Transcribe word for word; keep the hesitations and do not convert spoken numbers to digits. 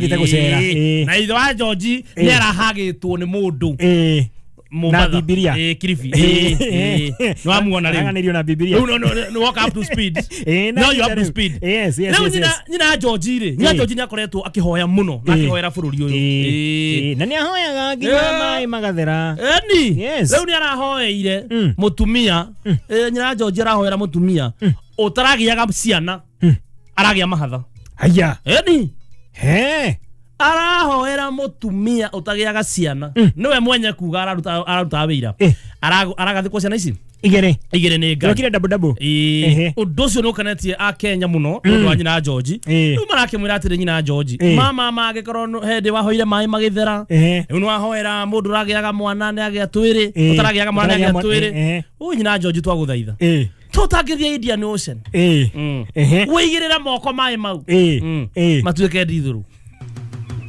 Thiĩte gũcera, ĩĩ. Na ithe wa George Ĩĩ. nĩ arahagĩtwo nĩ mũndũ Ĩĩ. Mombatha. Na Bibilia. Ĩĩ, Kilifi. Ĩĩ, ĩĩ. Nĩ wamuona rĩu. Aranganĩrio na Bibilia. Rĩu no- no- nĩ woka up to speed. Ĩĩ, na No, you up to rĩu. speed. Yes, yes, Rĩu yes, nyina yes. nyina George rĩ, nyina Ĩĩ. George nĩ akoretwo akĩhoya mũno na Ĩĩ. akĩhoera bũrũri ũyũ. Ĩĩ. Ĩĩ. Ĩĩ, na nĩ ahoyaga nginya Ĩĩ. maĩ magathera. Eni. Yes. Rĩu nĩ arahoeire Mm. mũtumia. Eh, nyina George arahoera mũtumia ũtaragĩaga ciana. Aragĩa mahatha. Haya. Eni. He. Arahoera mũtumia ũtagĩaga ciana. Nĩwe mwenye kuga araruta araruta wĩira. Eh. Arago- Aragathikwo ciana ici Igĩrĩ. igĩrĩ nĩ Ngai. Tũrokire double double. Ĩĩ. Ehe. Ũndũ ũcio nĩ ũkenetie akenya mũno nĩ ũndũ wa nyina George. Ĩĩ. Rĩu marakĩmwĩra atĩrĩ, nyina George, Ĩĩ. mama mangĩkorwo nũ- hĩndĩ wahoire maĩ magĩthera, Ehe. rĩu nĩ wahoera mũndũ ũragĩaga mwana nĩ agĩa twĩrĩ, Ĩĩ. ũtaragĩaga mwana nĩ Ũtaragĩa agĩa mwana- twĩrĩ. Ehe. Ũyũ nyina George, twagũthaitha, Ĩĩ. tũtangĩthiĩ Indian Ocean, Ĩĩ. Mm. Ehe. wĩigĩrĩre moko maĩ mau Ĩĩ. Mm. Ĩĩ. matuĩke ndithũrũ.